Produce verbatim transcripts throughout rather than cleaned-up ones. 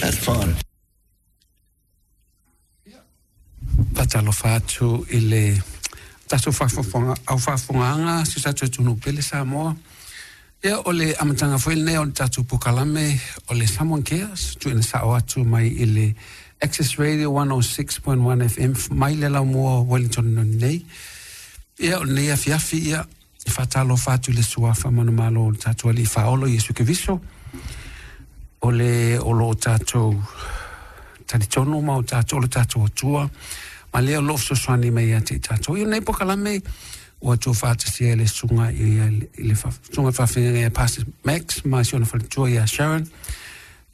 That's fun. Faatalofa atu i le tatou faafofoga au faafofogaaga si o tatou atunuu pele Samoa. Ia o le amataga foi lenei o le tatou polokalame o le Samoan Cares, tuuina sao atu mai i le Access Radio one oh six point one F M mai le laumua o Wellington nei. Ia o lenei afiafi ia e faatalofa atu i le suafa manumalo o le tatou alii faaolo Iesu Keriso o le o loo tatou talitonu ma o tatou o le tatou Atua ma lea o loo fesoasoani mai ia te i tatou. Ia lenei polokalame ua tua faatasia e le susuga i le susuga faafeagaiga ia Pastor Max ma si ona faletua ia Sharon.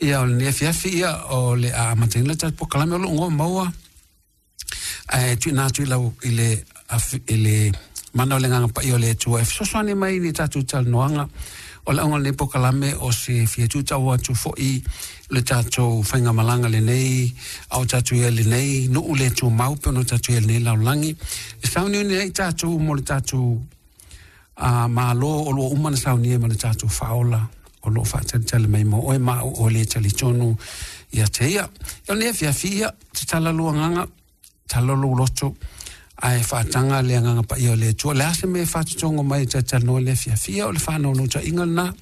Ia o lenei afiafi ia o le a amataina le tatou polokalame o loo goa maua ae tuuina atu i lau i le i le mana o le agaga paia o le Atua e fesoasoani mai i tatou talanoaga. O le auga o lenei polokalame o se fia tuutau atu foi le tatou faigamalaga lenei a o tatou ia lenei nuu le tumau pe ona tatou ia lenei lalolagi. E sauniuni ai tatou mo le tatou uh, malo o loo uma na saunia ma le tatou faaola o loo faatalitali mai mo oe ma o le talitonu ia te ia. O lenei afiafi ia tatala lua agaga, tatala lou loto ae faataga le agaga paia o le Atua. O le a se mea e faatotogo mai e talatalanoa le afiafi ia o le faanaunautaiga lena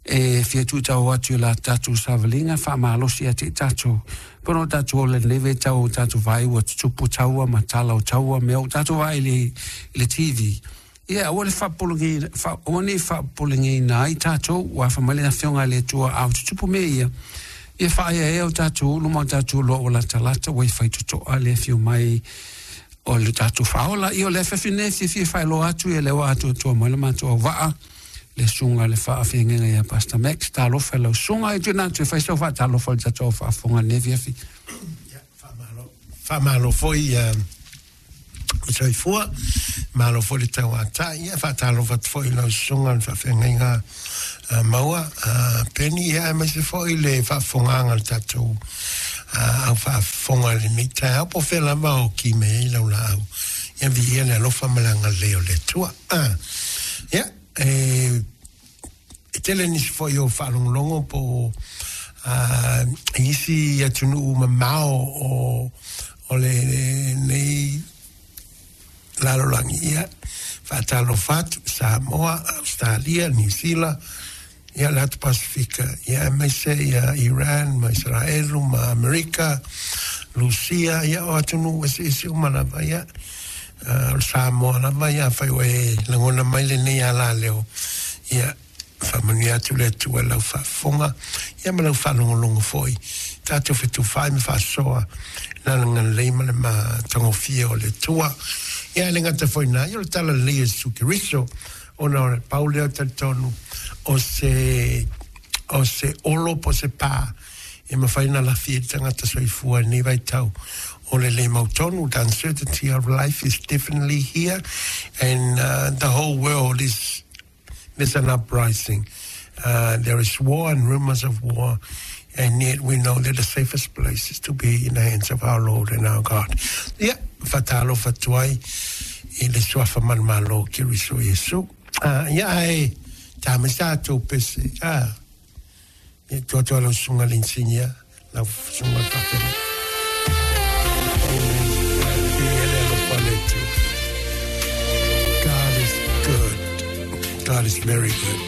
e fia tuutau atu i la tatou savaliga faamalosi ia te i tatou. Pono o tatou ola lenei vaitau o tatou vaai ua tutupu taua ma tala o taua mea o tatou vaai i le T V. Ia aua le faapupulagiina aua nei faapupulegaina ai tatou ua afa mai le afioga a le Atua a o tutupu mea ia. Ia faaeaea o tatou ulu ma o tatou loa ua latalata ua i faitotoa le afio mai o le tatou faaola. Ia o le afiafi nei fiafia faailoa atu ia le ua atoatoa mai le matou auvaa le susuga le faafeagaiga ia Pastor Max. Talofa i lau susuga e tuuina atu e fai sau faatalofa i le tatou faafofoga lenei afiafi. Ia, faamalo. Faamalo foi o soifua, malo foi le tauatai, ia faatalofa atu foi i lau susuga le faafeagaiga maua Penny, ia aemaise foi le faafofogaaga le tatou au faafofoga lenei taeao po o fea lava o ki mai ai lau laau. Ia viia le alofa ma le agalelei o le Atua. Ia, e tele nisi foi o faalogologo po o isi atunuu mamao o o lenei lalolagi. Ia faatalofa atu Samoa, Australia, New Zealand, ia le atu Pasifika, ia aemaise ia Iran ma Israelu ma Amerika, Lusia, ia o atunuu eseese uma lava, ia o le Samoa lava, ia afai ua e lagona mai lenei alaleo, ia faamanuia atu le Atua i lau faafofoga, ia ma lau faalogologo foi, tatou fetufai ma faasoa le agalelei ma le matagofie o le Atua. Ia e le gata foi na, ia o le tala lelei o Iesu Keriso, ona o le pau lea o talitonu o se o se olo po se pā e mafai ona lafi ai le tagata soifua i lenei vaitau o le le mautonu. The uncertainty of life is definitely here, and uh, the whole world is there's an uprising. Uh, there is war and rumors of war, and yet we know that the safest place is to be in the hands of our Lord and our God. Ia, faatalofa atu ai i le suafa manumalo o Keriso Iesu. Uh, ia ae tā mai sa tou pese. Ah, ia tuatua lau susuga le insinia, lau susuga le faafeagaiga. Amen. Viia le alofa o le Atua. God is good. God is very good.